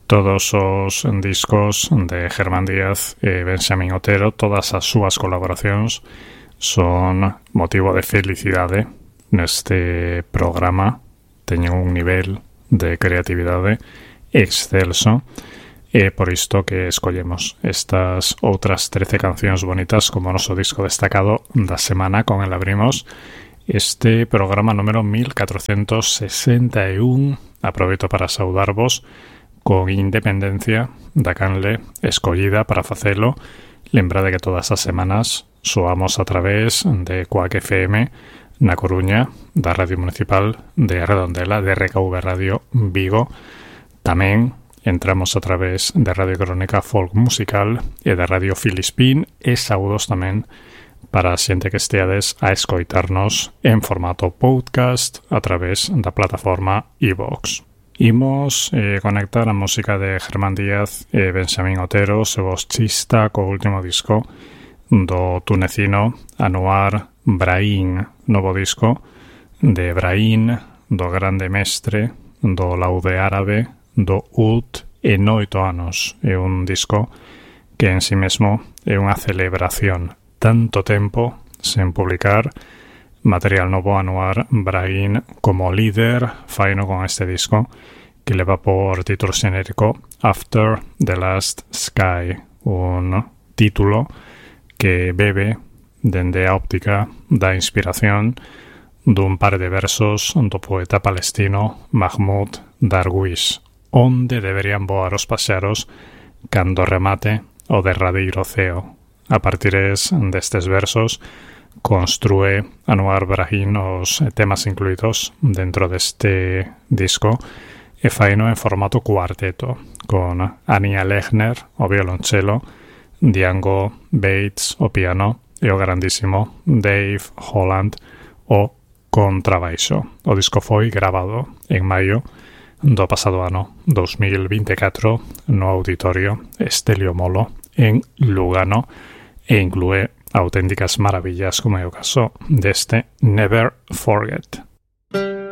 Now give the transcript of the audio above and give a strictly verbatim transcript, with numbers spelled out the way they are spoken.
Todos os discos de Germán Díaz e Benxamín Otero, todas as súas colaboracións son motivo de felicidade neste programa. Teñen un nivel de creatividade excelso e por isto que escollemos estas outras trece cancións bonitas como o noso disco destacado da semana. Con el abrimos este programa número mil catrocentos sesenta e un. Aproveito para saudarvos con independencia da canle escollida para facelo. Lembrade que todas as semanas soamos a través de Coac F M na Coruña, da Radio Municipal de Redondela, de R K V Radio Vigo. Tamén entramos a través de Radio Crónica Folk Musical e da Radio Filispín, e saúdos tamén para a xente que esteades a escoitarnos en formato podcast a través da plataforma iVoox. Imos eh, conectar a música de Germán Díaz e Benxamín Otero, seu chista co último disco do tunecino Anouar Brahim, novo disco de Brahim, do grande mestre do laude árabe do Oud en oito anos. É un disco que en si mesmo é unha celebración. Tanto tempo sen publicar material novo. Anouar Brahim como líder faino con este disco que leva por título xenérico After the Last Sky, un título que bebe dende a óptica da inspiración dun par de versos do poeta palestino Mahmoud Darwish, onde deberían voar os paxaros cando remate o derradeiro ceo. A partir destes versos construe Anouar Brahim os temas incluídos dentro deste disco e faino en formato cuarteto, con Ania Lechner o violonchelo, Django Bates o piano e o grandísimo Dave Holland o contrabaixo. O disco foi grabado en maio do pasado ano dos mil vinte e catro no Auditorio Estelio Molo en Lugano e inclúe auténticas maravillas como é o caso deste Never Forget.